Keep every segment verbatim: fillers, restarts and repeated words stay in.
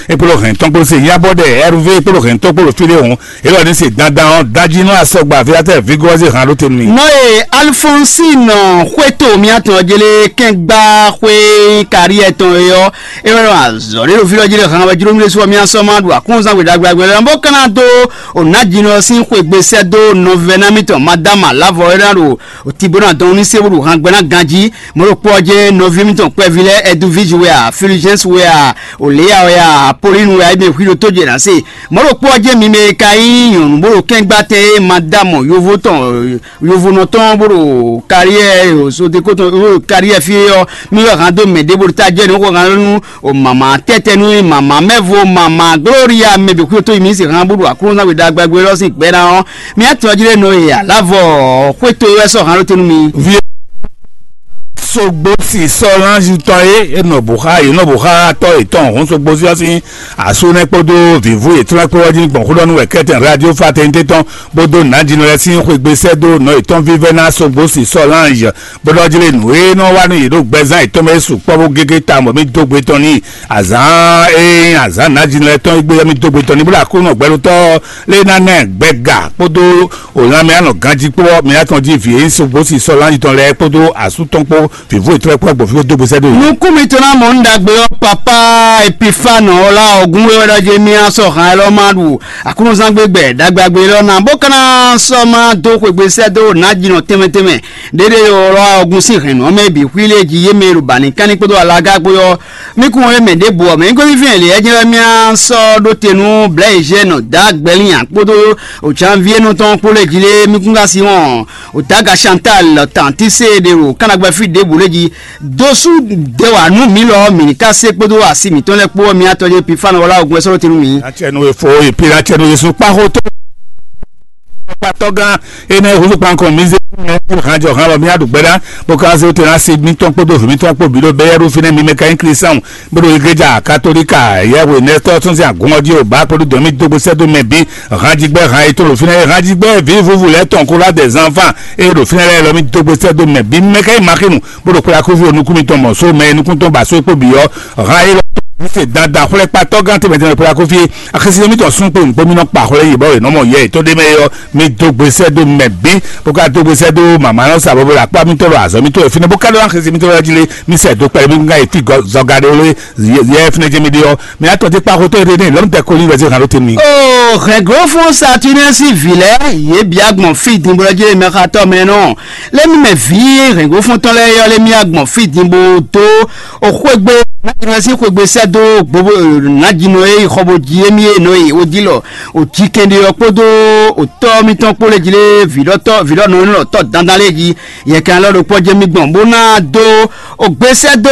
Ekpolo hɛn tɔn kpolo se yabɔ ɖe Hervé ekpolo hɛn tɔn kpolo fi ɖe hɔn. Elɔ ní se dandan ɔn dají nɔ asɔgba afilatɛ vigɔzi hàn ló tenu mi. Nɔ ye Alphonsine Xwétɔmia tɔn jele kɛngba xwé kariɛ tɔn yɔ. Ewɛ nɔ azɔ ɖe ɖo fi lɔ jí ɖe hàn wɛ jló mi ɖe sɔ mi asɔ ma ɖu akɔnzan gbe ɖagbe ɖagbe lɛ bó kana dó o na jí nɔ sín xwegbe sɛ dó nɔvɛ na mi tɔn madama lavɔ ena ɖo o ti bó na dɔn ní se bó ɖo hàn gbɛ na ganjí. Mɔ̌ ɖokpó ɔ́ jɛ́n nɔví mítɔn kpɛví lɛ́ɛ Ɛduvíji wɛ a, Filizɛ́nsi wɛ a, Oléya wɛ a, Apolínu wɛ a, émí e hwí ɖo tójɛ ná se. Mɔ̌ ɖokpó ɔ́ jɛ́n mi mɛ e ka nyí nyɔ̌nu bó ɖo kɛ́ngbá tɛn e ma dá mɔ yovo tɔn, yovonɔ tɔn bó ɖo karyɛ sodeko tɔn bó ɖo karyɛ fí é ɔ́, mi wɛ hǎn dó mɛ ɖěbǔ ta jɛ nǔ xo hǎn nú o mama tɛ́tɛ́ nú mama mɛvo mama Gloria mɛ bǐ xwíxwí tó yi mi se hǎn bó ɖo Aklúnɔzán gbe ɖagbe lɔ sín gbɛ ná ɔ́, mi atɔn jí ɖé nɔ e alavɔ xwéto wɛ sɔ́ hǎn ɖó te nú mi. Sogbo si sɔ́ lánzutɔ́ e e nɔ bǔ xá e nɔ bǔ xá tɔ́ yětɔn hǔn sogbo sí ɔ́ sín asú nɛ́ kpódó vǐvú yětɔn lɛ́ɛ kpó ɔ́ jí gbɔn xó ɖɔ nú wɛ kɛ́tɛn radio fraternité tɔn bó dó nǎjínɔ lɛ́ɛ sín xwegbe sɛ́ dó nɔ yětɔn vívɛ́ ná sogbo si sɔ́ lánz bó ɖɔ jí lé nǔ e nɔ wa nú yě ɖo gbɛzán yětɔn mɛ é sukpɔ́ bó gégé ta bɔ mì dó gbe tɔn n'i. Azǎn e nyí azǎn nǎjínɔ lɛ́ɛ tɔn é gbé ɔ́ mì dó gbe tɔn n'i bó ɖo Aklúnɔ gbɛɖotɔ́ lé ná ná ɛ gbɛga kpódó o lanmɛ anɔ ganjí kpó ɔ́, mi atɔn jí vǐ e nyí sogbo si sɔ́ lánzutɔn lɛ́ɛ kpódó asú tɔn kpó vǐvú yětɔn lɛ́ɛ kpó gbɔn fí dó gbe sɛ́ dó yě. Nukún mitɔn ná mɔ un ɖagbe ɔ́, papá Epifane ɔ́ lá ɔgún wɛ wɛ ɖɔ jɛ mì asɔ hǎn élɔ́ ma ɖu Aklúnɔzán gbégbɛ ɖagbeagbe élɔ́ ná, bó ka ná sɔ́ má dó xwegbe sɛ́ dó nǎjínɔ tɛnmɛ tɛnmɛ ɖéɖé ɔ́ lá ɔgún sín hɛ̌nnu ɔ́ mɛ bǐ xwí lé jí yé mɛ e ɖo bǎ ní kánní kpódó alaga kpó ɔ́. Mí kún wɛ mɛ ɖěbǔ ɔ́, mɛ nyí gosífín Eliyɛ́ jɛ́n wɛ mì sɔ́ ɖó te nú Blɛ̌yizɛ́nu Dǎgbɛlínya kpódó Janviénɔ tɔn kpó lɛ́ɛ jí lé mí kún ka sí wɔn Otaga Chantal tantí se ɖe ɖo kánnagbɛ́ fí ɖěbǔ lé jí. Dosú dɛ wǎ nú mǐ lɔ mǐ ní ká se kpódó asi mǐtɔn lɛ́ɛ kpó ɔ́, mi atɔ jɛ Pifánu wá lá ogun ɛ sɔ́ ɖó te nú mǐ. Atsɛnu e fo e pila atsɛnu Yesu kpa xó tó. Kpatɔgán ene huzu kpankɔ mi ze hanjɔ han lɔ mi aɖu gbɛɖa bó ka se te na se mítɔn kpódó vǐ mítɔn kpó bǐ ɖo bɛyɛ́ɖu fínɛ́ mi mɛ ka nyí Klísáhùn bó ɖo igleja katolika yɛhwe nɛtɔ tɔn sín agun ɔ́ jí o bá kpódó dɔn mí dó gbé sɛ́ dó mɛ bǐ. Hanjigbɛ han e tó ɖo fínɛ́ hanjigbɛ vǐ vuvu lɛ́ɛ tɔn kó lá dɛ zanfan e ɖo fínɛ́ lɛ́ɛ lɔ mí dó gbé sɛ́ dó mɛ bǐ mɛ ka nyí Maxinu bó ɖo kplá kúfí o nukún mitɔn mɔ só mɛ e nukún tɔn ba só kpó bǐ ɔ́. Han élɔ́ se dandan xwlɛ́ kpatɔ́ gán tɛnmɛ tɛnmɛ kplá kúfí. Axisi mitɔn sún kpé nukpó mi nɔ kpa xwlɛ́ yě bɔ yě nɔ mɔ yɛ yětɔn ɖé mɛ ɔ́, mi dó gbe sɛ́ dó mɛ bǐ bó ka dó gbe sɛ́ dó mama nɔ sa bɔbɔ ɖo akpá mitɔn ɖo azɔ̌ mitɔn ɖo fínɛ́ bó ka ɖó axisi mitɔn ɖo jí lé. Mi sɛ dó kpɛɖé mi ŋgá yě fi zɔga ɖé lé yɛ fínɛ́ jẹ́ mi ɖé ɔ́. Mi atɔ dé kpa xotó ɖé ní lɔmtɛ koli wɛ zé hàn ló temi. O hɛnglófún Saturnɛsi vǐ lɛ́ɛ yě bia gbɔn fí dinbɔlɔ jí mɛ xatɔ mɛ nɔ lé mi mɛ vǐ hɛnglófún tɔn lɛ́ɛ yɔ lé mi agbɔn fí dinbo dó o xwégbe Saturnɛsi xwégbe sɛ́ dó gbogbo nǎjínɔ e xɔ bo jí émí e nɔ e o jí lɔ o jí kɛnɖé ɔ́ kpódó o tɔ́ mitɔn kpó lé jí lé vǐɖɔtɔ́ vǐɖɔnɔ élɔ́ tɔ́ dandan lé jí yɛ kan lɔ ɖokpó jɛ mi gbɔn bó ná dó o gbé sɛ́ dó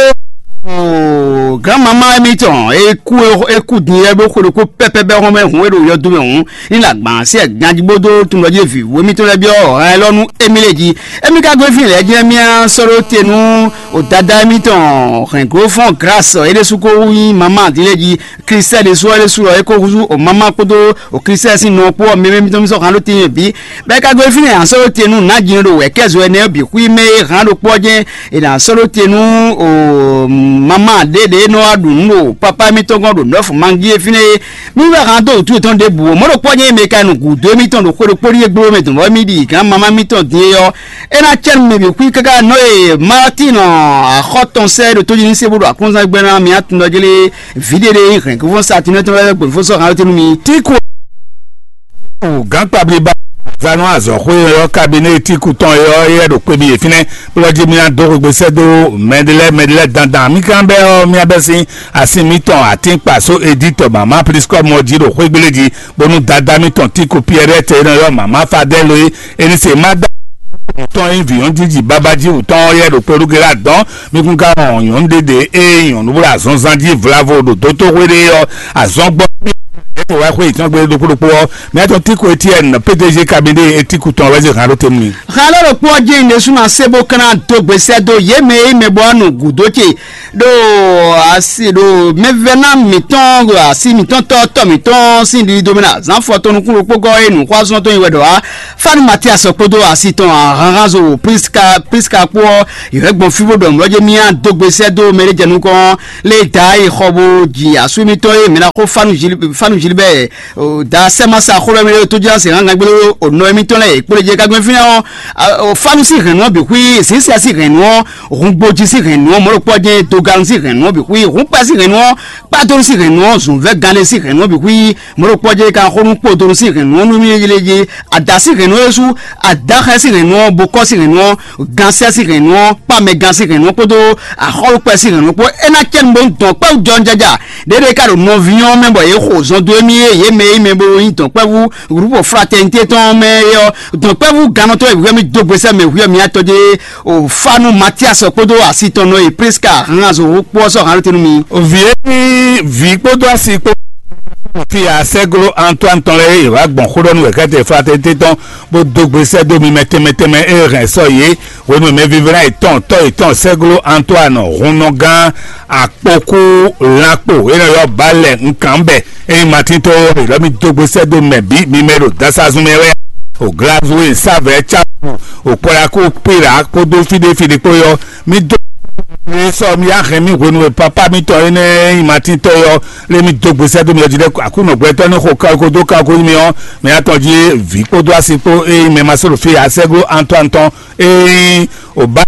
o gǎn mamá émítɔn e kú e kú din é bó xwe ɖokpó pɛ́pɛ́ bɛ́ hɔn mɛ hǔn e ɖo yɔdo mɛ hǔn ní la gbǎn sí ɛ ganjí bó dó tun ɖɔ jí vǐ wú émítɔn lɛ́ɛ byɔ́ hɛn élɔ́ nú émí lé jí émí ka gbe fí lɛ́ɛ jɛ́n mía sɔ́ ɖó te nú o dada émítɔn hɛn glófɔ́n grâce é ɖésú kó nyí mamá din lé jí Klísu ɖésú ɔ́ ɖésú ɔ́ é kó húzú o mamá kpódó o Klísu sín nɔ kpó ɔ́ mɛ mɛ mitɔn mi sɔ́ hǎn ɖó te nyi bǐ. Bɔ é ka gosín fínɛ́ a nǎ sɔ́ ɖó te nú nǎjínɔ ɖo wɛ̌kɛ́zɔ énɛ́ ɔ́ bǐ xwí mɛ e hǎn ɖokpó ɔ́ jɛ́n è nǎ sɔ́ ɖó te nú mamá ɖě ɖě e nɔ wá ɖu nǔ ɖo pápá émítɔn gɔ́n ɖo nɔ́fu mangí é fínɛ́ é. Mí wɛ hǎn dó wǔtu yětɔn ɖěbǔ ó. Mɔ̌ ɖokpó ɔ́ jɛ́n é mɛ ka nɔ gǔdo émítɔn ɖo xwe ɖokpó ɖíe gbé mɛ dɔn bɔ émí ɖi gǎn mamá mitɔn din é ɔ́, é ná cɛ nú mɛ bǐ xwí káká nɔ e Martin axɔ́ tɔn sɛ́ ɖo tójí ní sé bó ɖo aklúnzán gbɛ́ ná mì atundɔjlé vǐ ɖé ɖé nyí hɛ̌n kúfɔ́n Satinɛ́ tɔn lɛ́ɛ gběfó sɔ́ hǎn ɔ́ tɛ́ nú mi. Tíku gǎnkpablíba zanu azɔ̌xwé ɔ́ kabinéti kutɔn ɔ́ yɛ ɖo kpe mi yě fínɛ́ bó lɔ́ jí mì ná dó xwegbe sɛ́ dó mɛɖé lɛ́ɛ mɛɖé lɛ́ɛ dandan mì kan bɛ́ ɔ́ mì abɛ́ sín asi mǐtɔn atínkpa só edítɔ mama pliskɔ́mɔ jí ɖo xwégbélé jí bónú dadá mǐtɔn Tíku Piɛrɛ́tɛ e nɔ ylɔ́ mama Fadɛ́lo é, é ní se má dá tɔn nyí vǐ nyɔ̌nu jí baba jí wǔtɔn ɔ́ yɛ ɖo kpelúgela dɔn. Mi kún ka wɔn nyɔ̌nu ɖé ɖě ée nyɔ̌nu bó ɖo azɔnzán jí vlavo ɖo dótóxwé ɖé ɔ́, azɔn gbɔ Wá xwé ìtàn gbé ɖokpó ɖokpó ɔ́, mɛ tɔn Tiko Etienne, P D G cabinet Etiku tɔn wɛ zé hàn ɖó tɛnumɛ. Xaló ɖokpó ɔ́ jẹ́ ìdésúná sebo kana dó gbèsè dó yě mɛ e mɛ bɔ nù gǔdó ce ɖo asi ɖo mɛvɛ́ná mǐtɔn ɖo asi mǐtɔn tɔ́ tɔ́ mǐtɔn sín ɖiɖi domɛ ná zán fɔ tɔn nukún ɖokpó gɔ́ e nǔxwázɔ́n tɔn nyi wɛ ɖɔ wá. Fani Matias kpódó asi tɔn ahanhanzo Priska Priska kpó ɔ́, yě wɛ gbɔn fí bó ɖɔ mlɔ́ jɛ mía dó gbèsè dó mɛ ɖé jɛ nukɔn lé da yi xɔ bó ji asú émítɔn e mǐ ná xó Fanu Gilbert da sɛ́ ma sa xó lɛ́ɛ mi ɖo tójúlá se hán gangbélé o nɔ émítɔn lɛ́ɛ kpó lè jɛ kágbɛn fínɛ́ ɔ́. Fanu sín hɛ̌nnu ɔ́ bǐ xwí, Zǐsia sín hɛ̌nnu ɔ́, Hungbojí sín hɛ̌nnu ɔ́, mɔ̌ɖokpɔ́ jɛ́n Dogalnu sín hɛ̌nnu ɔ́ bǐ xwí, Hǔnkpɛ sín hɛ̌nnu ɔ́, Kpádonu sín hɛ̌nnu ɔ́, Zǔnvɛ́ganlé sín hɛ̌nnu ɔ́ bǐ xwí, mɔ̌ɖokpɔ́ jɛ́n ka xó nú kpodonu sín hɛ̌nnu ɔ́ nú mí yéyélé jí, Ada sín hɛ̌nnu ɔ́ sú, Adáxɛ sín hɛ̌nnu ɔ́, Bokɔ́ sín hɛ̌nnu ɔ́, Gansɛ́ sín hɛ̌nnu ɔ́, Kpámɛgansɛ́ sín hɛ̌nnu ɔ́ kpódó Axɔ́lúkpɛ sín hɛ̌nnu ɔ́ kpó. É ná cɛ nǔ bó dɔn kpɛ́ jɔnjɛja ɖěɖe ka ɖo nɔví ɔ́ mɛ bɔ yě xo zɔn dó émí e yě mɛ e mɛ bo nyí dɔ̌nkpɛvú Gǔlúbǒ Fratɛnité tɔn mɛ é ɔ́, dɔ̌nkpɛvú gannɔtɔ́ e hwíɔ mì dó gbesɛ mɛ hwíɔ mì atɔ́ jɛ o Fanu Matias kpódó asi tɔn nɔ e Priska hán azɔ̌ kpó ɔ́ sɔ́ hǎn tɛ́ nú mi. Vǐ e nyí vǐ kpódó asi kpó fi asɛglo Antoine tɔn lɛ́ɛ e wǎ gbɔn xó ɖɔ nú wɛ̌kɛ́tɛ Fratɛnité tɔn bó dó gbesɛ dó mi mɛ tɛnmɛ tɛnmɛ e hɛn sɔ yě hwenu e mɛvívla yětɔn tɔ́ yětɔn sɛglo Antoine hunnɔgán akpokú lanpo e nɔ ylɔ́ Balɛ nkanbɛ e nyí Matín tó ylɔ́ mì dó gbesɛ dó mɛ bǐ mi mɛ ɖo dasazun mɛ wɛ o Glazue savɛ Capu o Kpɔlaku Pila kpódó fíɖéfíɖé kpó yɔ mì dó mi sɔ mi axɛn mi hwenu e papa mitɔn énɛ́ e nyí Matín tó yɔ lé mi dó gbesɛ dó mi ɔ́ jí ɖɛ Aklúnɔ gbɛtɔ́ ní xo kawiko dó kawiko nyi mi ɔ́ mi atɔn jí vǐ kpódó asi kpó e nyí mɛ ma sɔ́ ɖo fí asɛglo Antoine tɔn Ee, o ba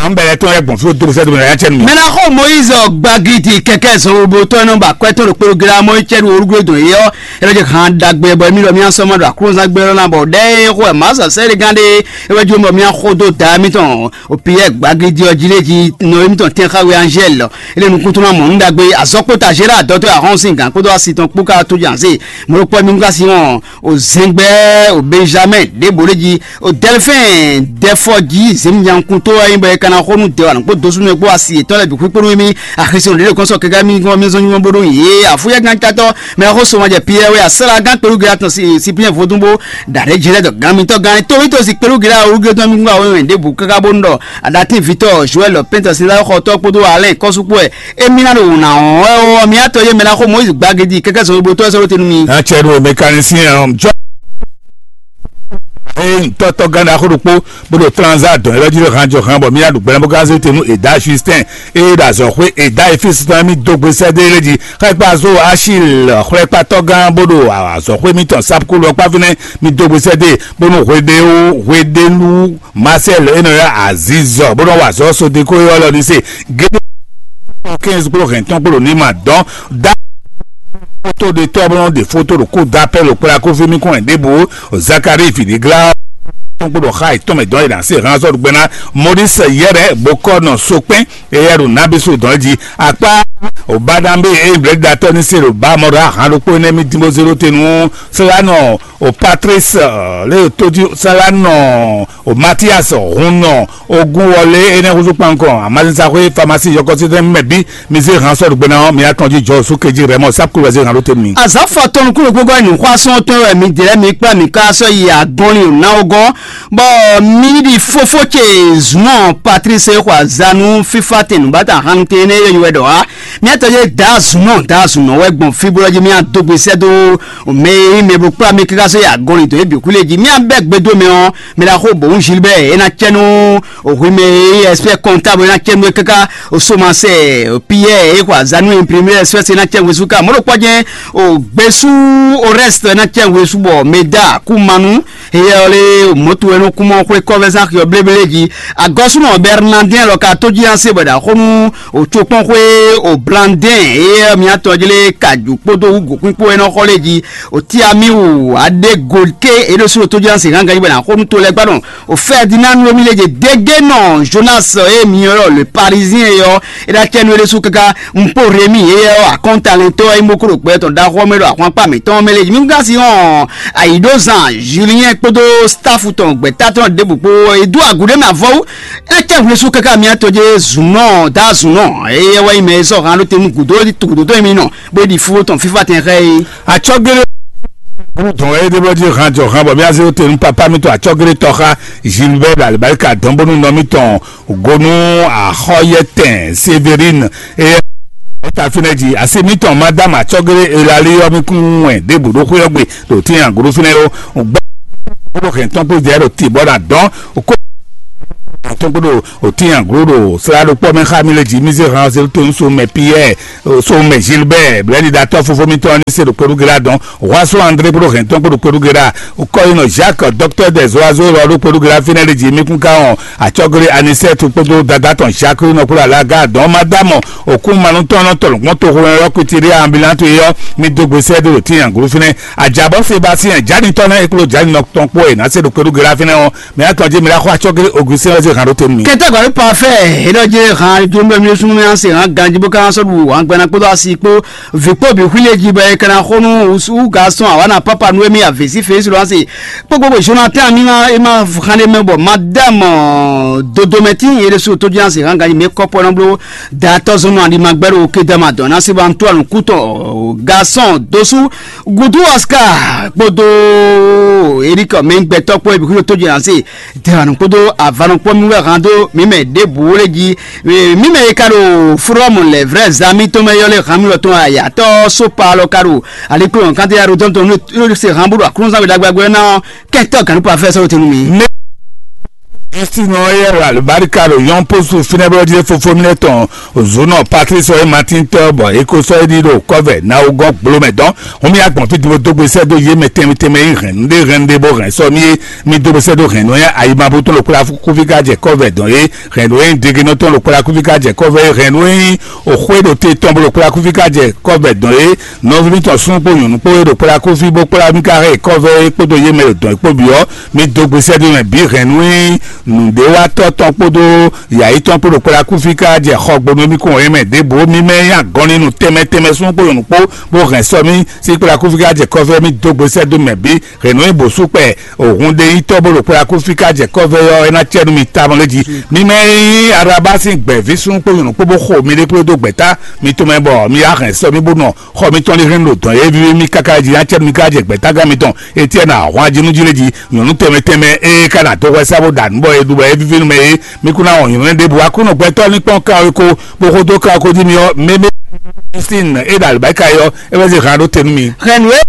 an bɛlɛ tɔn yɛ gbɔn fí o dókòsɛ dókòsɛ yɛ cɛ nù. Mɛ ná xɔ Moyiz gbagidi kɛkɛ zɔn wo bó tɔn nɔ ba kwɛ tɔn ɖo kpéɖo gla mɔ cɛ ɖo orúkúlé dɔn yɛ ɔ. Ɛlɛ jɛ hàn dagbe bɔ mi lɔ mi asɔ ma ɖo aklúnzán gbé lɔ na bɔ ɖɛ xɔ ɛ ma sɔ sɛ ɖe gán ɖe ɛ wɛ jó bɔ mi axɔ dó da mi tɔn o piyɛ gbagidi ɔ jí lé jí nɔ mi tɔn tɛn xawe Angel lɔ ele nukúntún na mɔ nu dagbe azɔkpota Gérard dɔtɔ ahɔn sin gán kpódó asi tɔn kpó ká tó jan se mo ɖo kpɔ mi nu ká si wɔn o zɛngbɛ o Benjamin ɖěbǔ lé jí o Delphin ɖɛfɔ jí zěmijánkuntó wɛ nyí bɔ é ka ná xo nú dɛwà nǔkpó dosúnú e kpó asi yětɔn lɛ́ɛ bǐ xwíkpó nú émí axisɔn ɖě ɖo kɔn sɔ kɛkɛ mì gɔn mì zɔn nyugbɔn bó ɖó yě afúyɛ́gán catɔ mɛ xó sɔmɔ jɛ Pierre wɛ asala gán kpelúgilá tɔn Cyprien vodún bó ɖa ɖě jí lɛ́ dɔ gán mitɔ́ gán tóvítɔ́ si kpelúgilá olúgilé tɔn mì gbá wɛ ɖěbǔ káká bónú ɖɔ aɖatín Vítɔ Joël Pɛ́ntɛsilá xɔtɔ́ kpódó Alain kɔ́sú kpó wɛ émí ná ɖo wǔ ná wɔn wɛ ɔ́, mǐ atɔ yé mɛ ná xo Moyiz gbagidi kɛkɛ zɔn gbogbo tɔ́ ɛ sɔ́ ɖó te nú mi. Atsɛ ɖo mécanicien ɔn jɔ. Ee ŋutɔtɔ gán ɖaxó ɖokpó bó ɖo transa dɔn yɛlɛ jí ɖo han jɔ han bɔ mí aɖu gbɛlɛ bó gán zé te nú Eda Justin eye ɖo azɔxwé Eda Efis tɔn mí dó gbe sɛ́ dó yɛlɛ jí xlɛkpa zó Achil xlɛkpatɔ gán bó ɖo azɔxwé mítɔn Sapkulu ɔkpá fínɛ́ mí dó gbe sɛ́ dó bónú hweɖéwú hweɖélu Marcel e nɔ ylɔ́ Azizɔ bó nɔ wa azɔ̌ Sodeko e ylɔ́ ɖi se gédé quinze kpó hɛn tɔn kpó ɖo ní ma dɔn dá foto ɖe tɔ́ bó nɔ ɖe foto ɖo kó dó apɛ́ ɖo kplá kó fí mí kɔn ɛ ɖěbǔ Zakari fǐɖéglá tɔn kpó ɖo xá yětɔn mɛ dɔn e ɖo así hán sɔ́ ɖo gbɛ́ ná Maurice Yɛrɛ bó kɔ nɔ sokpɛ́n eyɛ ɖo nábísú dɔn jí akpá òbáɖámbé e blɛ̌ɖiɖatɔ́ ní se ɖo bá mɔ ɖo ahán ɖokpó énɛ́ mí dín bó zé ɖó te nú Slanɔ o Patrice lé tójú Slanɔ o Mathias Hunnɔ ogun wɔlé énɛ́ húzú kpankɔ amazínsáxwé famasi yɔkɔsí tɛn mɛ bí mi zé hàn sɔ́ ɖo gbɛ́ná ɔ́ mi atɔn jí jɔ sú kejí rɛ mɔ sákúlú wɛ zé hàn ɖó te mi. Azǎn fɔ tɔn nukúnnú gbogbo ɛ nǔxwásún tɔn wɛ mi dlɛ́ mi kplá mi ká sɔ́ yi agɔnlin ná ɔ́ gɔ́n, bɔ mi ɖi fófó ce zunɔ Patrice xɔ azanu fífá tɛn nǔbátà hannutɛn énɛ́ yɔ́yɔ́ wɛ ɖɔ wá. Miatɔ́ yé daa zunɔ daa zunɔ wɛ gbɔn fíblɔ́ jí mía dó gbe sɛ́ dó mɛ e nyí mɛ bo kplá mi káká sɔ́ yi agɔnlin dɔn yě bǐ xwí lé jí. Mía bɛ́ gbe dó mɛ ɔ́, mɛ ɖaxó bǒ nyí Gilbert é ná cɛ nú hwi mɛ e nyí expert comptable é ná cɛ nú é káká osomasɛ Pierre é xɔ azanu imprimé espèce é ná cɛ hwesú ká mɔ̌ ɖo kpɔ́ jɛ́n o gbésú o reste é ná cɛ hwesú bɔ mɛ dá kú manu Eyɛ ɔ́ lé mɔ̌tu e nɔ kún mɔ xwé kɔ́vɛ́zán xyɔ bléblé jí. Agɔ́súnɔ Bɛrnadɛ́n lɔ ka tójí ná se bɔ è ɖo axó nú òcokpɔ́nxwé Oblandɛ́n eyɛ mǐtɔn jí lé ka jǔ kpódó wú gǒkpínkpó e nɔ xɔ lé jí. Otiamiwu aɖé golké é ɖo sú ɖo tójí ná se hán ganjí bɔ è nǎ xó nú to lɛ́ɛ gbá nɔ. O Ferdinand Romilé je dégé nɔ Jonas e mǐ ylɔ́ le Parisien é ɔ́, é ná cɛ nú é ɖésú káká. Un kpó Rémi éyɛ́ ɔ́ akɔ́ntalɛntɔ́ e mɔ kó ɖo gbɛ tɔn ɖaxó ɔ́ mɛ ɖo ahwankpá mǐtɔn mɛ lé. Mi ka sin ɔn ayǐɖozan Julien kpódó staff tɔn gbɛ̌ta tɔn ɖěbǔ kpó e dó agu ɖé mɛ avɔwú. É cɛ hwlɛ́sú káká mi atɔ jɛ zunɔ da zunɔ éyɛ́ wɛ nyí mɛ e sɔ́ han ɖó te nú gǔdo gǔdo tɔn mi nɔ bó ɖi fúfó tɔn fífá tɛn xá é. Atsɔ́gélé Búrú dɔn wɛ é ɖé bɔ jí han jɔ han bɔ mía zé te nú papá mitɔn acɔ́glétɔ́ xá Gilbert alibarika dɔn bónú nɔ mitɔn gonu axɔyɛtɛn Séverine eye ta fínɛ́ jí asi mitɔn madame acɔ́glé elali ɔ́ mi kún wɛn ɖěbǔ ɖó xwé ɔ́ gbe ɖo tín agǔɖú fínɛ́ ó. Gbɛ bónú hɛn tɔn kpó jɛ ɖo tì bɔ na dɔn kó tɔn kpó ɖo òtín agǔɖú ɖo slá ɖokpɔ́ mɛ xá mi lé jí mi zé han zé tó so mɛ Pierre so mɛ Gilbert blɛ́ni ɖatɔ́ fofó mitɔn ní se ɖo kpóɖú gélá dɔn Huaso André kpóɖó hɛn tɔn kpóɖó kpóɖó gélá kɔyinɔ Jacques docteur des oiseaux lɔ ɖó kpóɖó gélá fínɛ́ lé jí mi kún ká wɔn acɔ́gblé Anisette kpódó dada tɔn Jacques nɔ kpóɖó alága dɔn madame òkú manutɔn nɔ tɔlɔ gbɔn toxo yɔ kutiri ambulante yɔ mi dó gbèsè ɖo tín agǔɖú fínɛ́. Ajabɔ Sébastien Jani tɔn náà eklo Jani nɔ tɔn kpó e ná se ɖo kpéɖu gérá fínɛ́ ɔ́, mɛ atɔn jí mi la xɔ atsɔ́ géré Augustin ɔ́ zé hǎn ɖó te nú mi. Kɛtɛgɔli parfait, enɔ je han jumbe mi sunu mi ase han ganji bo kan sɔdu han gbɛna kpodo asi kpo vi kpo bi huile ji bɛ kana xonu usu garçon awana papa nu emi avesi fesi lo ase kpokpo bo Jonathan mi ma ema hande mɛ bɔ madame dodomɛti yere su to ji ase han ganji mi kɔpɔ na blo datɔ zɔnɔ ali ma gbɛɖo ke dama dɔn na se ba ntu anu kutɔ garçon dosu Gudu Oscar kpódó Eric Mɛngbɛtɔ kpó ebi kúrò tó jɛ ase dɛwanu kpódó avanu kpó mi wɛ hàn dó mi mɛ ɖěbǔ wó lé jí mi mɛ yi ka ɖo fúrɔmù lɛ vrɛ zami tó mɛ yɔ lé hàn mi lɔ tó ayatɔ sópa lɔ ka ɖo alikplɔ kante ya ɖo tɔn tó nu se hàn bó ɖo aklúnzán wɛ ɖagbagbɛ ná kɛntɔ ganu pa fɛ sɔrɔ tenu mi. Justin ɔ́ yɛ wɛ alùbáríkà ɖo yɔn pósù fínɛ́ bɔ jí fofó mi lɛ tɔn zunɔ Patrice ɔ́ e Martin tɔ́ bɔ é ko sɔ́ é ɖi ɖo kɔ́vɛ ná wú gɔ́n gbló mɛ dɔn. Hun mì agbɔ̌n fí din bó dó gbe sɛ́ dó yé mɛ tɛnmɛ tɛnmɛ e hɛn nǔɖé hɛn ɖé bó hɛn sɔ́ mì é. Mi dó gbe sɛ́ dó hɛn nǔ nyá ayi ma bó tɔn ɖo kplá kúfí ká jɛ kɔ́vɛ dɔn é. Hɛn nǔ e nyí degenɔ tɔn ɖo kplá kúfí ká jɛ kɔ́vɛ é. Hɛn nǔ e nyí òxwé ɖo te tɔn bó ɖo kplá kúfí ká jɛ kɔ́vɛ dɔn é. Nɔví mitɔn súnnu kpó nyɔ̌nu kpó e ɖo kplá kúfí bó kplá mì ká hɛn kɔ́vɛ é kpódó yé mɛ ɖo dɔn é kpó bǐ ɔ́, mi dó gbe sɛ́ dó mɛ bǐ hɛn nú nǔɖéwatɔ́ tɔn kpódó yǎyí tɔn kpó ɖo kplá kúfí ká jɛ xɔ gbonu mì kún wɛ mɛ ɖěbǔ mì mɛ nyí agɔnlinu tɛnmɛ tɛnmɛ súnnu kpó nyɔ̌nu kpó bó hɛn sɔ́ mì sí kplá kúfí ká jɛ kɔ́vɛ mì dó gbe sɛ́ dó mɛ bǐ hɛn nǔ nyí bǒsú kpɛ òhun ɖe nyí tɔ́ bó ɖo kplá kúfí ká jɛ kɔ́vɛ ɔ́ é ná cɛ nú mi tawun lé jí. Mi mɛ nyí araba sín gbɛ̌ví súnnu kpó nyɔ̌nu kpó bó xo mi ɖé kplé dó gbɛ̌ta mi tɔn mɛ bɔ mi yá hɛn sɔ́ mì bó nɔ xɔ mitɔn lé hɛn ɖo dɔn yé víví mì káká jí acɛ mi ká jɛ gbɛ̌tágán mitɔn Etiɛ́ni ahwan jí nú jí lé jí nyɔ̌nu tɛnmɛ tɛnmɛ ée ká ná dó hwɛ sá bó ɖa nǔ bɔ é ɖu bɔ é víví nú mɛ é. Mi kún ná wɔn nyɔ̌nu lɛ́ɛ ɖěbǔ wá kú nɔ gbɛtɔ́ ní kpɔ́n kan ɔ́ ko bó xó dó kan ɔ́ ko jí mi ɔ́ mɛmɛ Christine é ɖo alibáka é ɔ́ é wɛ zé han ɖó te nú mi. Hɛn nǔ e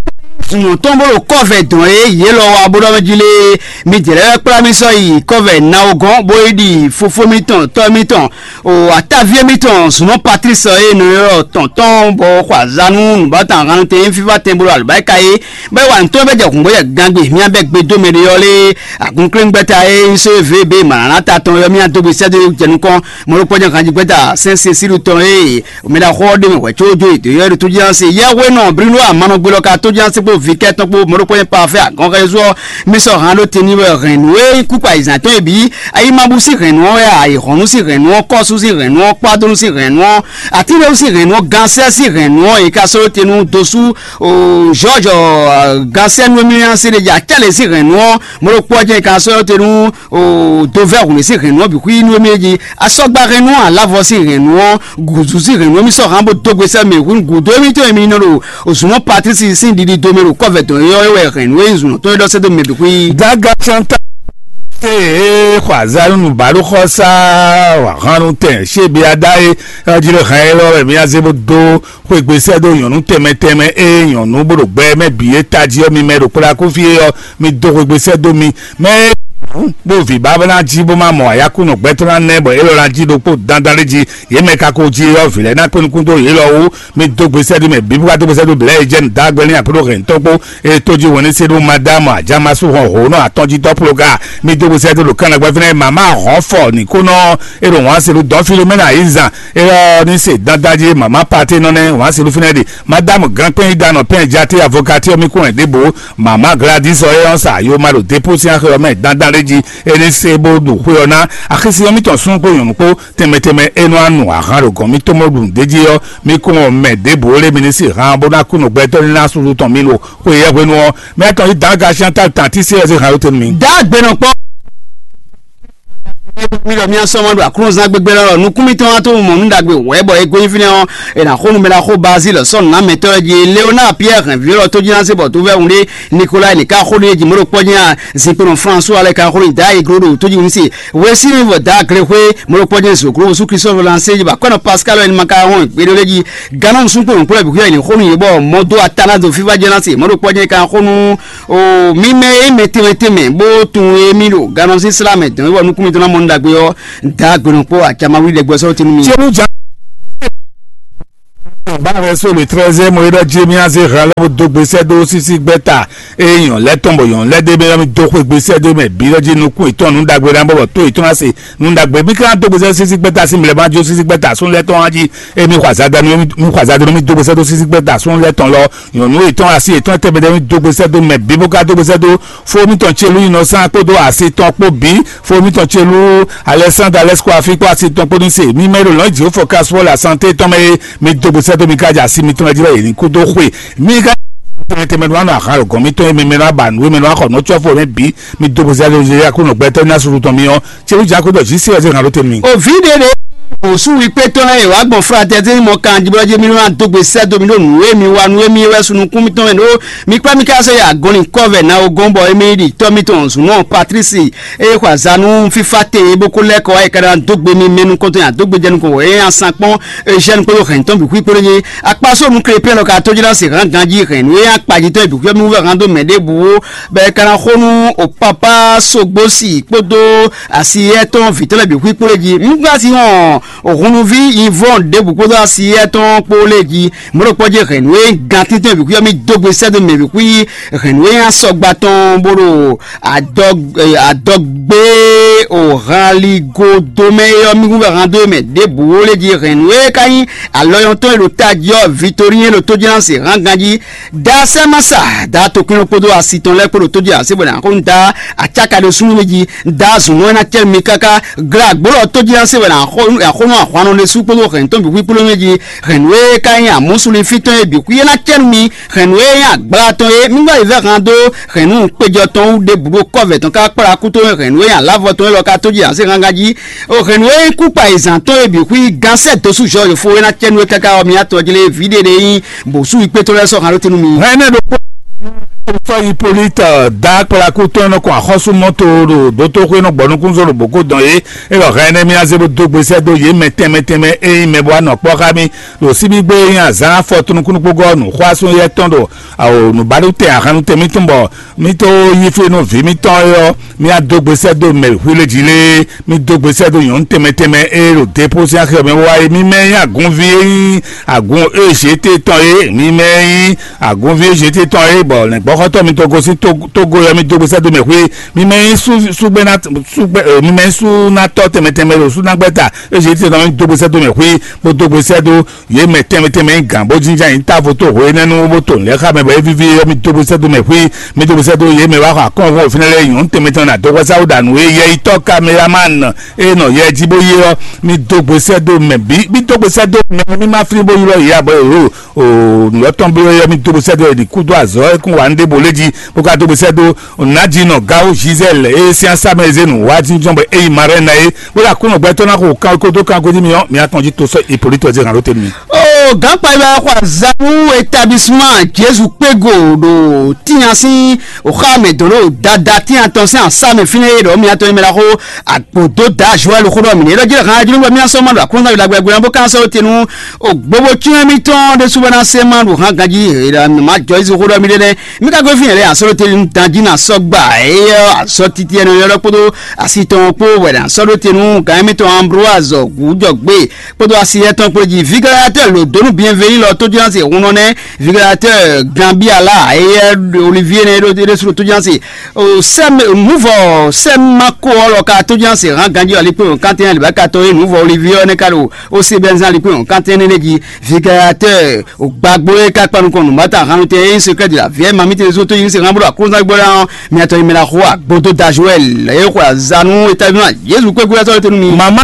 zun tɔn bó ɖo kɔvɛ dɔn é yě lɔ wa bó ɖɔ mɛ jí lé mi jɛ lɛ́ kplá mi sɔ́ yi kɔvɛ nawogɔn bó yi ɖi fofó mitɔn tɔ́ mitɔn O ataví émítɔn zunɔ Patrice e nɔ ylɔ́ tɔn tɔn bɔ xɔ azǎn nú nǔbátɔn ahan tɛn fífá tɛn bó ɖo alɔbáyíká é, bɔ é wa nǔ tɔn bɛ jɛ hǔngbó jɛ gangbe mía bɛ gbe dó mɛ ɖé ɔ́ lé agunklɛ́ngbɛ́ta e nyí só vé bé mǎlánátá tɔn ɔ́ mía dó gbe sɛ́ dó jɛ nukɔn mɔ̌ ɖokpɔ́ jɛ hanjigwɛ́ta sɛ́n se síɖu tɔn e mɛ ɖaxó ɔ́ ɖe mɛ hwɛ̌ có jó yě dó ylɔ́ ɖo tójánse yɛ́hwénɔ Bruno Amanɔgbelɔ ka tójánse kpó vikɛ́ tɔn kpó mɔ̌ ɖokpɔ́ nyɛ Parfait Agɔnxɛzú ɔ́ mi sɔ́ han ɖó te n'i wɛ hɛn nǔ e nyí kúkpa ayizɛ́n tɔn e bǐ Ayimabú sín hɛ̌nnu ɔ́ wɛ a, Ayǐhɔ́nnu sín hɛ̌nnu ɔ́, Kɔ́sú sín hɛ̌nnu ɔ́, Kpádónú sín hɛ̌nnu ɔ́, Atínɖéwú sín hɛ̌nnu ɔ́, Gansɛ́ sín hɛ̌nnu ɔ́, è ka sɔ́ te nú dosú Jɔ́ɔ́jɔ Gansɛ́ nú émí ɔ́, Séɖéja Cálɛ sín hɛ̌nnu ɔ́, Mɔ̌ɖokpɔ́ jɛ́n è ka sɔ́ te nú Dovɛ́hunɛ sín hɛ̌nnu ɔ́ bǐ xwí nú émí é jí. Asɔ́gbá hɛ́nnu ɔ́, Alavɔ sín hɛ̌nnu ɔ́, Gǔzú sín hɛ̌nnu ɔ́, mí sɔ́ hǎn bó dó gbe sɛ́ mɛ hwín gǔdo émítɔn e mi nɔ ɖo zǔnɔ Patísi sín ɖiɖi do mɛ ɖo kɔ́vɛ dɔn é ɔ́, é wɛ hɛ̌nnu e nyí zǔnɔ tɔn é ɖɔ sɛ́ dó mɛ bǐ xwí. Daga Chantal. Ee, xɔ azalunu balo xɔ sa wahanu tɛn sebi ada e ɔjlɛ hɛn e lɔ wɛ mi aze bo do xwegbe sɛ do nyɔnu tɛmɛ tɛmɛ e nyɔnu bo ɖo gbɛ mɛ bi e taji ɔ mi mɛ ɖo kpla kufi e ɔ mi do xwegbe sɛ do mi mɛ bo vi babla ji bo ma mɔ ayakunɔ gbɛtɔ na nɛ bɔ e lɔ na ji ɖokpo dandan ɖe ji ye mɛ kako ji ɔ vi lɛ na kpe nukun do ye lɔ wu mi dó gbèsè ɖi mɛ bíbú wá dó gbèsè ɖo blɛ̌ jẹ́ nǔdágbé ní àpérò hɛn tɔn kpó e tó jí wɛn ní se ɖó madámù àjàmásù hɔn hǒnɔ àtɔnjítɔ́ ploga mi dó gbèsè ɖo kánà gbɛfínɛ màmá hɔn fɔ nìkónɔ e ɖo wọ́n se ɖo dɔn filomena yi zan e ɔ ní se dandan jí màmá pàtí nɔ nɛ wọ́n se ɖo fínɛ ɖi madámù gánpɛn yi danɔ pɛn játé avokatí ɔ mi kún ɛ ɖěbò màmá gladys ɔ e ɔ sa yo ma ɖo dépó sín axé ɔ mɛ dandan ɖé jí e ní se bó ɖo xwé ɔ ná axisi ɔ mi tɔn sún kpó nyɔ̌nu kpó tɛnmɛ tɛnmɛ e nɔ anu ahan ɖo gɔn mi tɔn mɔ ɖu nǔ ɖé jí ɔ́ mi kún ɔ mɛ ɖěbǔ lé mi ní sí han bó ná kú nǔgbɛtɔ́ ní ná susu tɔn mi lo xwe yɛ hwenu ɔ́ mɛ tɔn yí dǎga sián tá tàn tí sí ɛ sí han yótenu mi. Dá gbenɔ kpɔ́. Mi ɖɔ mía sɔ́ ma ɖo aklúnɔzán gbégbé lɔ nukún mitɔn wá tó mɔ nǔ ɖagbe wɛ̌ bɔ é gosín fínɛ́ ɔ́, è nǎ xo nú mɛ ɖaxó Bazíl sɔ́ nǔnámɛtɔ́ lɛ́ɛ jí. Leonáa Piyɛ́ɛ hɛn vǐ élɔ́ tójínásé bɔ tó vɛ́ wun ɖé. Nikolai ní ká xó nú yě jí mɔ̌ ɖo kpɔ́ jɛ́n a zinkpo nɔ Flánsu alɛ ka xó nú Dayi gló ɖo tójínúsí. Wesíní vɔ dǎ glexwé mɔ̌ ɖo kpɔ́ jɛ́n zǒgló sú Klísɔ́ Lansé jí ba kɔ́ nɔ Paskáli wɛ ní ma ka wɔn gbéɖé lé jí. Gannɔ́ nusúnkpo nǔkplɔ́ bǐ xwíyɔ ní xó nú yě bɔ mɔ̌ dó atánádo fífá jɛ́n ná se mɔ̌ ɖo kpɔ́ jɛ́n ka xó nú O mì mɛ e mɛ tɛnmɛ tɛnmɛ bó tunwun e mì ɖo gannɔ sín slá mɛ dɔn wɔ nukún mitɔn ná mɔ nú ɖagbe ɔ́, da gbenɔ kpó acamawí ɖɛgbɛ sɔ́ tinu mi. Cenu ja. Báhɛn sólo treize mo ɖɔ Jeremia zé hɛn lɛ́ bó dó gbe sɛ́ dó sísí gbɛ́ta. Eye nyɔ̌ lɛ́ tɔn bɔ nyɔ̌ lɛ́ ɖé bɛ́ mi dó xwe gbe sɛ́ dó mɛ bǐ lɔ jí nukún yětɔn nǔ ɖagbe ná bɔ bɔ tó yětɔn ná se nǔ ɖagbe. Mi ka ná dó gbe sɛ́ sísí gbɛ́ta sín mlɛ̌ má jó sísí gbɛ́ta sún lɛ́ tɔn wá jí. Emi xɔ azadanu mi xɔ azadanu mi dó gbe sɛ́ dó sísí gbɛ́ta sún lɛ́ tɔn lɔ. Nyɔ̌nu yětɔn asi yětɔn tɛnmɛ ɖé mi dó gbe sɛ́ dó mɛ bǐ bó ka dó gbe sɛ́ dó fó mitɔn Celú nyinɔsán kpódó asi tɔn kpó bǐ. Fó mitɔn Celú Alɛsándra Lɛ́sikɔ Afíkpɔ́ asi tɔn kpó ní se. Mi mɛ e ɖo lɔ̌n jǐxó fɔ kasúwɔ́ le asante tɔn mɛ e mi dó gbe sɛ́ dó mi ka jɛ asi mitɔn lɛ́ɛ jí wɛ yě ní kú dó xwe. Mi ka tɛnmɛ tɛnmɛ ɖó anɔ ahan ɖo gɔ̌n mitɔn e mi mɛ nɔ ba nǔ e mi nɔ xɔ nǔ cɔ́fú mɛ bǐ. Mi dó gbe sɛ́ dó Aklúnɔ gbɛtɔ́ ní asúru tɔn mi ɔ́. Celú Jakɔ́bɔ jí sí wɛ zé hǎn ɖó te nú mi. Òví ɖé ɖé òsú wi kpétɔ́ lɛ́ɛ e wǎ gbɔn Flatɛ́zín mɔ kanjibɔ́ jí mi nɔ dó gbe sɛ́ dó mi ɖó nǔ e mi wa nú émí wɛ sunukún mitɔn mɛ ɖó mi kplá mi ká sɔ́ yi agɔnlin kɔ́vɛ ná o gɔ́n bɔ émí ɖi tɔ́ mitɔn zǔnɔ Patlísi e xɔ azǎn nú fífá te e bó ko lɛ́ kɔ wá yi ka ná dó gbe mi mɛ nukɔntɔn ya dó gbe jɛ nukɔn wɔ é nyi asankpɔ́n Ezyɛ́ni kpódó hɛ̌ntɔn bǐ xwí kpódó jí akpá sónu Klépiyɛ́ɛ lɔ ka tó jí ná se hǎn ganjí hɛ̌nnu e nyi akpajitɔ́ e bǐ xwíxwɛ́ mì wú vɛ́ hán dó mɛ ɖěbǔ ó, bɔ è ka ná xo nú Opapá Sogbósi kpódó asi éyɛ́ tɔn vǐ tɔn lɛ́ɛ bǐ xwí kplé jí. Un gblá asi hɔn hunnuví Yivɔ́ɔn ɖěbǔ kpódó asi éyɛ́ tɔn kpó lɛ́ɛ jí. Mɔ̌ ɖokpó jí hɛ̌nnu e gán tɛ́ntɛ́n bǐ xwí ɔ́ mì dó gbe sɛ́ dó mɛ bǐ xwí hɛ̌nnu e nyi asɔgba tɔn bó ɖo adɔgbe o hanligodomɛ e ɔ́ mì hu vɛ han dó mɛ ɖěbǔ ó lé jí hɛ̌nnu e ka nyí alɔyɔntɔn e ɖo tají ɔ́ Vitorín e ɖo tójínásí hán ganjí. Da sɛ́ má sa da tokpínɔ kpódó asi tɔn lɛ́ɛ kpó ɖo tójí ase bɔ nǎ xó nu da acáka ɖo súnnu mɛ jí. Da zǔnú e ná cɛ mi káká glá gbólɔ tójí ná se wɛ nǎ xó nú ahwannɔ ɖésú kpódó hɛ̌ntɔn bǐ xwíkplɔ́ mɛ jí. Hɛ̌nnu e ka nyí amúsulífí tɔn e bǐ xwí é ná cɛ nú mi. Hɛ̌nnu e nyí agbla tɔn e mi wá yi vɛ́ han dó hɛ̌nnu kpéjɔ tɔn wú ɖěbǔ ɖó kɔ́vɛ tɔn ká kplá kú tɔn hɛ̌nnu e nyí alavɔ tɔn élɔ́ ka tójí ná se hángan jí. O hɛ̌nnu e nyí kú kpa yi zǎn tɔn e bǐ xwí gán sɛ́ dó sú zhɔ yǒfó é ná cɛ nú é káká ɔ́ mi atɔn jlé vǐ ɖé ɖé nyí bǒsú yi kpétɔ́ lɛ́ɛ sɔ́ han ɖó te nú mi. Hɛn ɛnɛ ɖokpó sɔ́ Ipolite dá kplakú tɔn nɔ kɔn axɔ́súmɔto ɖo dótóxwé nɔ gbɔ nukúnzó ɖo bǒkó dɔn yě. É ɖɔ hɛn ɛnɛ mì azé bó dó gbe sɛ́ dó yě mɛ tɛnmɛ tɛnmɛ e nyí mɛ bó wá nɔ kpɔ́ xá mì ɖo síbígbé e nyí azǎn afɔtúnukúnukpógɔ́ nǔxwásún yɛ́ tɔn ɖo awo nǔbánútɛn ahannutɛn mǐtɔn bɔ mì tó yí fí nú vǐ mǐtɔn é ɔ́, mì adó gbe sɛ́ dó mɛ xwíléjǐ lé. Mì dó gbe sɛ́ dó nyɔ̌nu tɛnmɛ tɛnmɛ e ɖo Depósián xɛ mɛ wá é. Mì mɛ nyí agunví e nyí agun Ezyéte tɔn é. Mì mɛ nyí agunví Ezyéte tɔn é, bɔ lɛ̌ngbɔ́xɔ́tɔ́ mitɔn gosín Tógó ɔ́, mì dó gbe sɛ́ dó mɛ xwé. Mì mɛ nyí súgbɛ́ná súgbɛ́ mì mɛ nyí súnátɔ́ tɛnmɛ tɛnmɛ ɖo súnágbɛ́ta Ezyéte tɔn, mì dó gbe sɛ́ dó mɛ xwé, bó dó gbe sɛ́ dó yě mɛ tɛnmɛ tɛnmɛ nyí gǎn bó jínjɔ́n ayǐ távo tó hwe énɛ́ nu bó to nǔ lɛ́ɛ xá mɛ bɔ é víví ɔ́, mì dó gbe sɛ́ dó mɛ xwé. Mì dó gbe sɛ́ dó yě mɛ wá xɔ akɔ́nvɔ́ fínɛ́ lɛ́ɛ nyɔ̌nu tɛnmɛ tɔn ɖo adɔxɔ́sáwú ɖo nǔ e yɛ yi tɔ́ kameramán e nɔ yɛ jí bó yé ɔ́, mì dó gbe sɛ́ dó mɛ bǐ. Mì dó gbe sɛ́ dó mɛ mì má flín bó ylɔ́ yě ǎ bɔ è ɖǒ nǔ ɔ́ tɔn bló yɛ. Mì dó gbe sɛ́ dó è ɖi kú dó azɔ̌ e kún wa nú ɖěvo lé jí, bó ka dó gbe sɛ́ dó nǎjínɔ Gawu Gisèle e sín asá mɛ e zé nǔ wá jínjɔ́n bɔ é yi Marɛ́na é, bó ɖo Aklúnɔ gbɛtɔ́ ná xo kan kódó kan godi mì ɔ́, mì atɔn jí to sɔ́ Ipolite ɔ́ zé hǎn ɖó te nú mì. O gǎnkpa yi wɛ xɔ azǎn nú établissement Jezu kpégo ɖo tínya sín xá mɛ dǒ ɖo dada tínya tɔn sín asá mɛ fínɛ́ é ɖɔ mì atɔn yi mɛ ɖaxó agbodo da Joël xó ɖɔ mì nɛ é ɖɔ jí ɖɔ hǎn ajínú bɔ mì asɔ ma ɖo Aklúnɔ ná yi ɖagbe gbe ná bó kan sɔ́ te nú o gbogbo cyɔ́n mì tɔn ɖésú bɔ ná se ma ɖo hǎn ganjí é ɖɔ mì má jɔ Jezu xó ɖɔ mì ɖé nɛ́. Mì ka gosín yě lɛ́ɛ asɔ́ ɖó te nú danjí ná sɔ́ gbà éyɛ́ asɔ́ títí ɛnɛ ɔ́ kpódó asi tɔn kpó wɛ ná sɔ́ ɖó te nú gǎn émítɔn Ambroise Gǔjɔgbé kpódó asi étɔn kpó jí. Vigalatɛ́ lǒ dó nú Bienvenu lɔ tójúnásì hun nɔ nɛ́. Vigalatɛ́ Gambiala éyɛ́ Olivier nɛ́ ɖó ɖésú ɖo tójúnásì. Sɛ́m nǔvɔ sɛ́m Mako ɔ́ lɔ ka tójúnásì hán ganjí ali kpé hɔn kantɛ́n ali bá ka tɔn é nǔvɔ Olivier ɔ́ nɛ́ ka ɖo ó sé bɛ́nzán ali kpé hɔn kantɛ́n nɛ́ jí. Vigalatɛ́ Gbagbo e ka kpa nukɔn nǔmátá hannutɛn e nyí sekrɛ́ de la vǐ ɛ ma mítɛn zó tó yi se hán bó ɖo aklúnɔzágbó lá ɔ́, mi atɔn yi mɛ ɖaxó agbodo da Joɛl e xwe azanu etavima Jezu kpé gbé sɔ́ tenu mi. Mama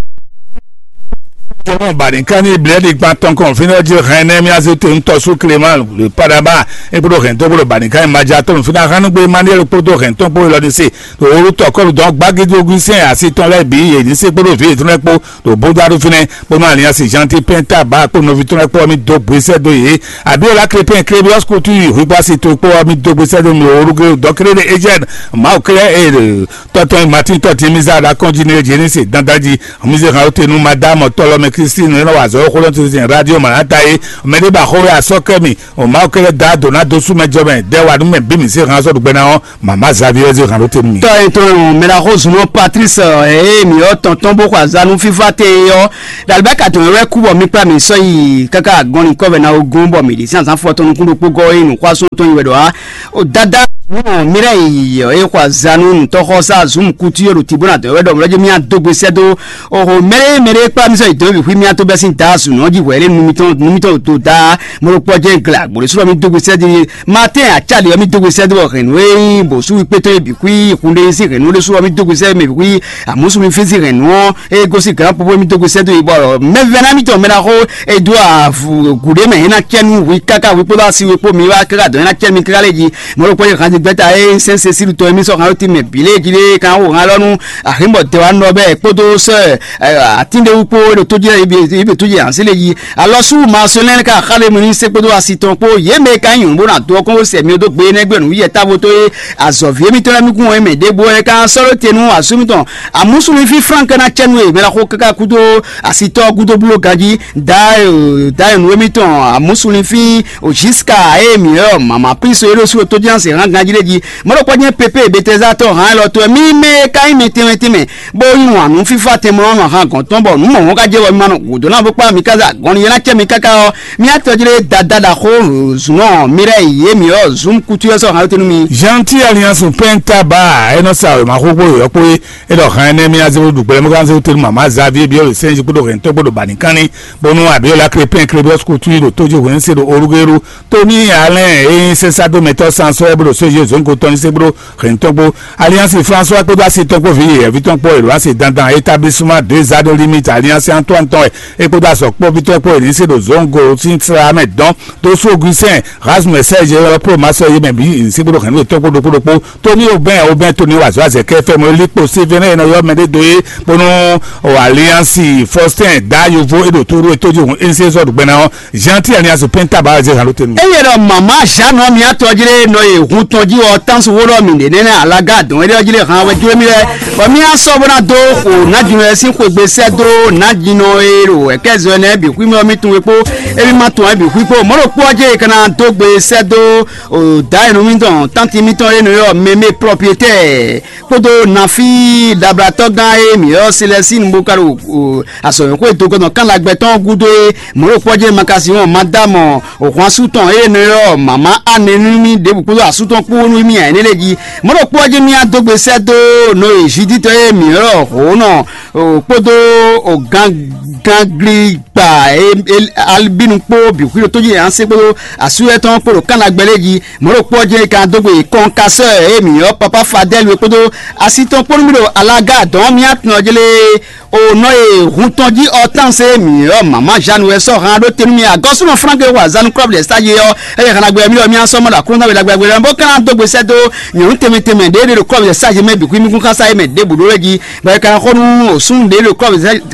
Tɔmɔ banikan ní blɛ́ɖi gban tɔn kɔn fínɛ́ jí hɛn nɛ́ mí azé te ŋutɔ sú Clément le Padaba é kpódó hɛn tó kpódó banikan ní madza tɔn fínɛ́ hánúgbé Emmanuel kpódó hɛn tɔn kpó lɔ ní se ɖo wólu tɔkɔlu dɔn gbágídógún sɛn asi tɔn lɛ́ɛ bǐ yě ní se kpódó vǐ yětɔn lɛ́ɛ kpó ɖo bódó aɖu fínɛ́ bónú aliansi Jean ti pɛn ta bá kpó nɔví tɔn lɛ́ɛ kpó ɔmí dó gbésɛ dó yě. Abiola Crépin Crébios kutu yi hwígbá si to kpó ɔmí dó gbésɛ dó mi wólu gé dɔkéré ɖé Ejɛn Mawu kɛlɛ e tɔtɔn Martin tɔtin mi zá ɖo akɔnjí ní Jenise dandan jí. Mi zé hàn ó te nú madame tɔlɔmɛ Christine nɔ wa zɔ xó lɔn ti radio Manata yé. Mɛ ɖé ba xó wɛ asɔ kɛ mi o Mawu kɛlɛ da do na do sú mɛ jɔ mɛ dɛ wa nú mɛ bí mi zé hàn sɔ ɖugbɛ na ɔ mama Xavier zé hàn ó te nú mi. Tɔ etɔn mɛ la xó zunɔ Patrice ɛ mi ɔ tɔntɔn bó xɔ azanu fifa te ɔ. Dalibɛ ka tɔn wɛ kú bɔ mi kpla mi sɔ yi kaka agɔnni kɔvɛ na o gún bɔ mi ɖi sí azan fɔ tɔn nukún ɖokpó gɔ yi nukwasun tɔn yi wɛ ɖɔ a. O dada nɔ mi lɛ yi ɔ e xɔ azanu nutɔxɔ sa zum kutu yo ɖo tibó na dɔn wɛ ɖɔ mlɔdzi mi adó gbe sɛ dó. Oho mɛɖe mɛɖe kpla mi sɔ yi dɔn bi xwi mi ato bɛ sin da su nɔ ji hwɛ lé nu mitɔn nu mitɔn to da mɔɖo kpɔ jɛ gla gbolo sɔ mi dó gbe sɛ di. Matin atsali ɔ mi dó gbe sɛ dó bɔ hɛn nu e bò su kpétɔ ye bi xwi hun ɖe si hɛn nu ɖe su ɔ mi dó gbe sɛ mi bi xwi amusu mi fesi hɛn nu ɔ e gosi gran popo mi dó gbe sɛ dó yi bɔ mɛvɛ na mi tɔn mɛ na xo e dó avu guɖe mɛ e na cɛ nu wi kaka wi kpódó asi wi kpó mi wa kaka dɔn e na cɛ mi kaka lé ji. Mɔɖokpɔ́ yi hanzigbɛ́ta e sɛ́n Cecílu tɔn émí sɔ́ han ɔ́ tɛnmɛ bǐ lée jí ɖe kan xo han lɔ nú Axǐnbɔ Dɛwanɔ bɛ́ kpódó sɔ́ Atínɖewú kpó ɖo tó jí lɛ́ɛ yě bǐ tó jí ansí lé jí. Alɔsú Marcelin ka xá ɖe mɛ ní sé kpódó asi tɔn kpó yě mɛ ka nyí nyɔ̌nu bó ná dó ɔ́ kɔn xó sɛ mi dó gbe énɛ́ gbɛ́ nǔ yɛ távo tó é azɔ̌ví émítɔn lɛ́ɛ mí kún ɔ́ mɛ ɖěbǔ ɔ́ é ka sɔ́ ɖó te nú asú mítɔn. Amúsúlífí Frank ná cɛ nú e mɛ ná xó káká kúdó asitɔ́ gúdo bló ganjí. Dayò dayò nú émítɔn amúsúlífí Ojiska eye mǐ ɔ mama Kristo e ɖo sú tójánse hán ganjí ɖé jí. Mɔɖokpɔ́ jɛ́n Pepe Betɛza tɔn hán élɔ́ tɔn mí mɛ e ka nyí mi tɛnmɛ tɛnmɛ bó yí wǎn nú fífá tɛnmɛ ɔ́ nɔ hán gɔ̌n tɔn bɔ nǔ mɔ̌hɔn ka jɛ wɔ mi ma nɔ gǔdo ná bó kpá mi káza gɔn yɛ ná cɛ mi káká ɔ́, mi atɔ́ jlé dada ɖaxó zǔnɔ mi lɛ́ yě mǐ ɔ́ zǔn kútú ɔ́ sɔ́ hán tɛ́ nú mi. Gentil Alliance Penta ba e nɔ sa wěma xóxó yɔ̌kpó é, é ɖɔ hán énɛ́ mì azé ɖu gbɛlɛ́mɔgánzé tɛ́ nú mama Xavier Biɔ́ le sɛ́njí kpódó hɛn tɔn kpódó banikanni, bónú Abiola Krépin Klebɔ́s kútú yi ɖo tójú hwenu se ɖo Olúgéru. Tony Allen e nyí sɛ́nsádomɛtɔ́ sansɔ́ ɛ bó ɖo séjé zǒngo tɔn ní sé bó ɖo hɛn tɔn kpó. Alliance François kpódó asi tɔn kpó vǐ yɛ̌yɛ́ví tɔn kpó èlò asi dandan établissement deux anneaux limite Alliance Antoine tɔn ɛ é kpódó azɔ̌ kpɔ́ví tɔn kpó èlò ní sé ɖo zǒngo sín sra mɛ dɔn tó sú Augustin Rasmus Serge ɔ́ kpó masɔ yé mɛ bǐ ní sé bó ɖo hɛn nú yětɔn kpó ɖokpó ɖokpó. Tony Aubin Aubin Tony wazɔ azɛ kɛ fɛ mɔ likpo sévénɛ e nɔ ylɔ́ mɛ ɖé dó é bónú Alliance Faustin da yovo é ɖo tóɖó é tójú hǔn é ní sé zɔ́ ɖo gbɛ ná ɔ́ Jean ti Alliance Penta ba zé halo tenu. Eye ɖɔ mama Jean nɔ mia tɔjlé nɔ ye hun tɔn jí wɔ tansu wo ɖɔ mi ɖe nɛnɛ alaga dɔn ɖe ɔjlé han wɛ jlé mi lɛ. Bɔ mi asɔ bó na dó xo na jun wɛ sín xwegbe sɛ dó na jin nɔ e ɖo ɛkɛ zɔ nɛ bi xwi mi ɔ mi tun wɛ kpó emi ma tun wɛ bi xwi kpó mɔɖo kpó ɔjɛ kana dó gbe sɛ dó o da enu mi tɔn tanti mi tɔn e nɔ yɔ mɛmɛ propriétaire kpódó nafi dablatɔ gán e mi yɔ silɛsinu bó ka ɖo azɔ̌wɛ́xwé dogɔnɔ kánlagbɛ tɔn gúdo é mɔ̌ ɖo kpɔ́ jɛ́n makasi wɔn madamɔ hwansu tɔn ée nɔ ylɔ́ mama anɛ nú mì ɖěbǔ kpódó asú tɔn kpó nú mì ǎ énɛ́ lɛ́ɛ jí. Mɔ̌ ɖo kpɔ́ jɛ́n mì adó gbe sɛ́ dó nɔ e Zuditɔ e mǐ ylɔ́ hǒnɔ kpódó gangangli gba albinu kpó bǐ xwíɖó tójí anse kpódó asúyɛ́ tɔn kpó ɖo kánlagbɛ lɛ́ɛ jí. Mɔ̌ ɖo kpɔ́ jɛ́n ka dó gbe kɔnkasɔ́ e mǐ ylɔ́ papa Fadɛ́lu é kpódó asi tɔn kpó nú mì ɖo alaga dɔn mì atɔn jlé. O nɔ e hun tɔn jí ɔ tán se mǐ ɔ mama Jeanne wɛ sɔ han ɖó te nú mi agɔsúnɔ Frank e wa zanu club de stage ɔ eye hana gbɛ mi ɔ mi asɔ mɔ ɖo aklúnɔ we ɖagbe ɖagbe bó kana dó gbe sɛ dó nyɔnu tɛmɛ tɛmɛ ɖe ɖe ɖo club de stage mɛ bǐ kú mi kún xasa yi mɛ ɖe bǔ ɖó lɛ jí bɛ kana xɔ nú osún ɖe ɖo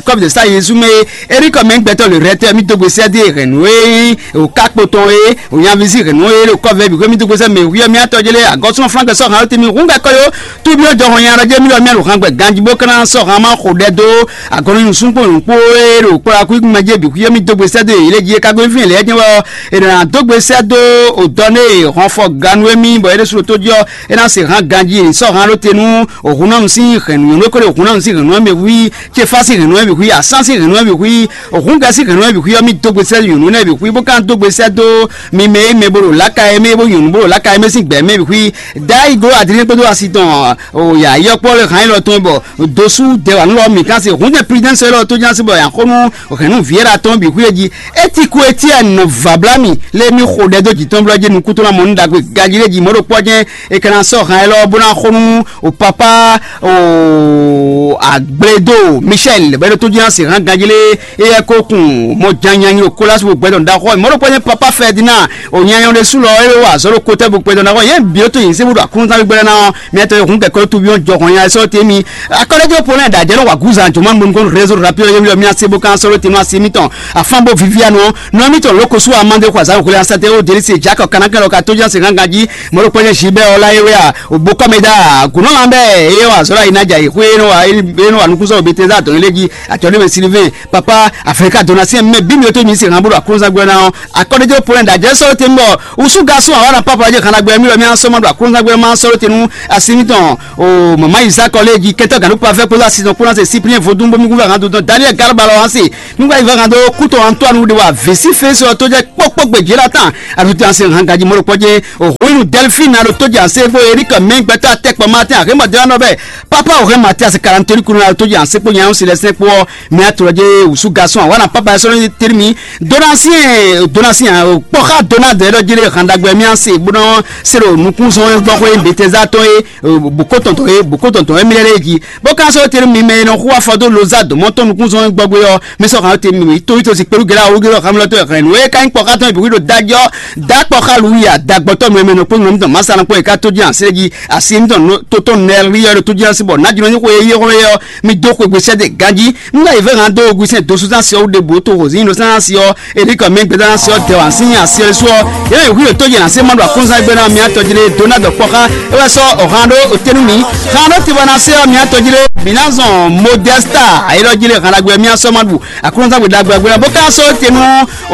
club de stage zú mɛ Eric mɛ gbɛtɔ le rɛtɛ mi dó gbe sɛ dé hɛn nú e o kakpo tɔn e o nyavi sí hɛn nú e ɖo club vɛ bǐ kú mi dó gbe sɛ mɛ wi ɔ mi atɔ jɛ lɛ agɔsúnɔ Frank sɔ han ɖó te mi hún gɛ kɔ yo Tubi ɔ jɔhɔn nya ɖɔ jɛ mi ɖɔ mi aɖo han gbɛ ganji bó kana sɔ han ma xo ɖɛ dó agɔnɔ nyi nusúnkpó nukpó e ɖo kplɔ́ akú mɛ jɛ bǐ xwíyé mi dó gbe sɛ́ dó yě lé jí é ka gbe fín lɛ́ɛ jɛ́n wɛ ɔ́ è nɔ ná dó gbe sɛ́ dó odɔ nɛ e hɔnfɔ ganu émí bɔ é ɖésú ɖo tó jí ɔ́ é ná se han ganji è sɔ́ han ɖó te nú òhun nánu sín hɛ̌nnu nyɔ̌nu é ko ɖo òhun nánu sín hɛ̌nnu ɔ́ mɛ hwí Cefá sín hɛ̌nnu ɔ́ mɛ hwí Asán sín hɛ̌nnu ɔ́ mɛ hwí òhúngɛ sín hɛ̌nnu ɔ́ mɛ hwí ɔ́ mì dó gbe sɛ́ nyɔ̌nu nɛ́ mɛ hwí bó ka dó gbe sɛ́ dó mi mɛ e mɛ bó ɖo láka e mɛ bó nyɔ̌nu bó ɖo láka e mɛ sín gbɛ̌ mɛ hwí Dayi gló Adilɛ́n kpódó asi tɔn ya yɔkpɔ́ lɛ hǎn élɔ́ tɔn bɔ dosú dɛwǎnú lɔ mǐ ka se hǔn jɛ Prudence élɔ́ tó ján sí bɔ yǎ xó nú hɛ̌nnu vǐ é ɖo atɔn bǐ xwí é jí. É ti ko etí ɛ nɔ vǎblá mì lé mì xo ɖɛ dó jǐ tɔn blɔ́ jí nukúntɔ́ ná mɔ nú ɖagbe gají lé jí mɔ̌ ɖo kpɔ́ jɛ́n è ka ná sɔ́ han élɔ́ bó ná xo nú o papa o Agbledo Michel bɔ é ɖo tó jí ná se hán ganjí lé. Éyɛ́ kó kun mɔ janyanyi o Kolas bo gbɛdɔn ɖaxɔ mɔ̌ ɖokpó nyɛ papa Ferdinand o nyanya ɖésú lɔ é wa azɔ̌ ɖo kotɛ́ bo gbɛdɔn ɖaxɔ yě bǐ tó yin sébú ɖo aklúnzán gbɛgbɛ ná ɔ́, mɛ tɔn e hǔn kɛkɔ tó byɔ́ jɔhɔn nya sɔ́ tɛ́ mi. Akɔ́lɛ́jɔ Polin da jɛ nɔ wa gúzan jɔmɔ nukɔn réseau rapide yɛ mi lɔ mi ase bó kan sɔ́ tɛ́ nɔ asi mitɔn afán bó vivianu nɔ mitɔn lóko sú amande xɔ azán xwlé asate ó deli se jakɔ kanakɛ lɔ ka tó jan se gángan jí mɔɖó pɛlɛ zi bɛ ɔlá yɛ wɛ a òbó kɔmɛ da gùnɔ lan bɛ eye wa zɔlá yina dza yi xwé nɔ wa nukúnsɔ bete za dɔn lé jí atsɔ ne mɛ silivɛn papa afirika dona se mɛ bí mi tó mi se hàn bó ɖo akɔnzan gbɛ ná akɔɖéjɔ polɛ da jɛ sɔrɔ tɛn bɔ usu ga sún awa na papa jɛ kana gbɛ mi lɔ mi asɔ ma ɖo akɔnzan gbɛ ma sɔrɔ tɛn nu asi mitɔn o mama yi zakɔ lé jí kɛtɔ ganu pafɛ kpódó asi tɔn kpódó asi cyprien vodun bomi kúfɛ hàn dodɔ daniel garba lɔ hàn se nígbà yìí fẹ́ hàn dó kútó antoine de wa vèsí fèsì ɔ tó jẹ́ kpókpó gbèjì la tán àtúntò asi hàn gàdí mọ́lò pɔjẹ́ òhun inú delphine alo tó jẹ́ àṣẹ fún eric mẹ́ngbẹ́tà tẹ́kpọ̀ martin àhẹ́mọ̀dé wọn bẹ́ẹ̀ papa òhẹ́ mathias kalantori kunu alo tó jẹ́ àṣẹ kpó yẹn ń silẹ̀ sẹ́kpó ọ́ mɛ atɔlɔdze wusu garçon awana papa sɔrɔ teri mi donatien donatien kpɔxa donade ɖɔ jele handagbe mi ase bonɔ se ɖo nukun sɔn gbɔ xɔ ye beteza tɔn ye boko tɔntɔn ye boko tɔntɔn ye mi lɛ ji bó kan sɔrɔ teri mi mɛ nɔ xu afɔ do loza dɔmɔ tɔn nukun sɔn gbɔgbe ɔ mi sɔ kan teri mi to to si kpelu gɛlɛ awu gɛlɛ xamlɔ to hɛn nu ye kan kpɔxa tɔn bi wi do dajɔ da kpɔxa lu ya da gbɔtɔ mɛ mɛ nɔ kpɔn nɔ mi tɔn masa na kpɔ ye ka to ji ase ji asi mi tɔn to tɔn nɛ ri yɔ to ji asi bɔ na jɔ ni ko ye ye xɔ ye ɔ mi dó xwegbe sɛ́dɛ ganjí. Nígbà yìí fẹ́ hàn dó ogun sẹ́n dosúnsá sí ọ́ wúde bò tó hòzí inú sánsá sí ọ́ èdè kan mí gbẹdá sí ọ́ dẹwà sí àsíọ́ sú ọ́ yẹ́n ìwé òtó yẹn àsí mọ́dọ̀ àkúnzá gbé náà mi àtọ́júlé donald kpọ́ká ewé sọ ọ̀hán dó òtẹ́nu mi hàn dó tiwa náà sí ọ́ mi àtọ́júlé bìnázọ̀n modesta ayélujára hàn lágbé mi àsọ́ mọ́dù àkúnzá gbé dàgbé àgbé náà bó ká sọ tẹnu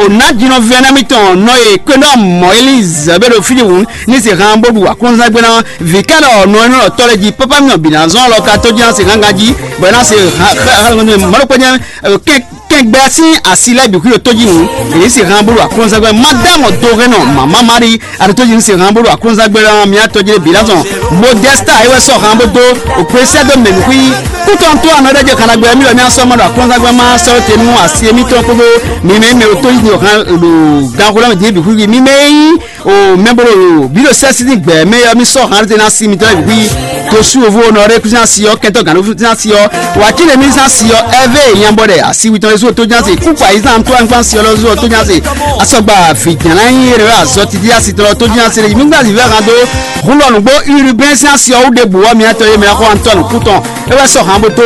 ònà jìnnà fẹ́nà mi tàn nọ yè kwéná mọ́ elizabeth fídíwù ní sì hàn bó du àkúnzá gbé náà vikɛlɛ ɔnɔ ɛnɔ tɔlɛ ji papa mi ɔbina zɔn lɔ ka tɔji ase gangan ji bɔ ɛna se mɔlɔkpɛnyɛ kɛngbɛ si asi lɛ bi kuyo tɔji nu èyí se hàn bolo aklɔnzɛgbɛ madame dorenɔ mama mari alo tɔji se hàn bolo aklɔnzɛgbɛ la mi atɔji le bi la zɔn modesta ewɛ sɔ hàn bo do òpèsè do mɛ nukui kútɔntɔ anɔ ɖe jɛ kanagbɛ mi lɔ mi asɔ ma do aklɔnzɛgbɛ ma sɔ tenu asi mi tɔn kodo mi mɛ mɛ o tɔji hàn lo gan ko la mi di bi kuyi mi mɛ yi o mɛ bolo yo bi lo sɛ sidi gbɛ mɛ yɔ mi sɔ hàn tɛ na si mi tɔ bi kuyi to su ovo nɔ ɖe kusi asi yɔ kɛntɔ gan kusi asi yɔ wa ti le mi sa si yɔ ɛvɛ yan bɔ dɛ asi wi tɔn yesu to jan se kuku ayi san to an kpan si yɔ lɔ zu to jan se asɔgba fi jan na yi yɛrɛ azɔ titi asi tɔ to jan se le mi gba zi vɛ hàn do hun lɔ nugbo urubɛn si asi yɔ wu de bu wɔ mi atɔ ye mɛ xɔ antɔ nu kutɔn ewɛ sɔ hàn bo to